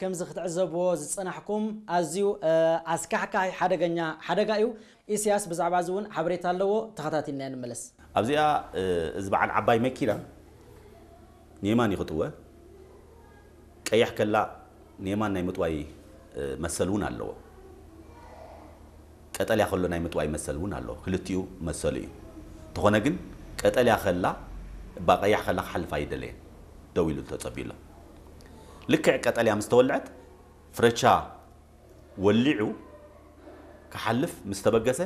ከምዚ ክትዕዘብዎ ዝጸናሕኩም ኣዝዩ ኣስካሕካሒ ሓደገኛ ሓደጋ እዩ። ኢሳያስ ብዛዕባ እዚ እውን ሓበሬታ ኣለዎ። ተኸታቲልና ንመለስ። ኣብዚኣ እዚ በዓል ዓባይ መኪና ንየማን እዩ ክጥወ። ቀያሕ ከላ ንየማን ናይ ምጥዋይ መሰል እውን ኣለዎ። ቀጠልያ ከሎ ናይ ምጥዋይ መሰል እውን ኣለዎ። ክልቲኡ መሰሉ እዩ። እንተኾነ ግን ቀጠልያ ከላ እባ ቀያሕ ከላ ክሓልፍ ኣይደለየን። ደው ኢሉ ተጸቢሎ። ልክዕ ቀጠልያ ምስ ተወልዐት ፍረቻ ወሊዑ ክሓልፍ ምስ ተበገሰ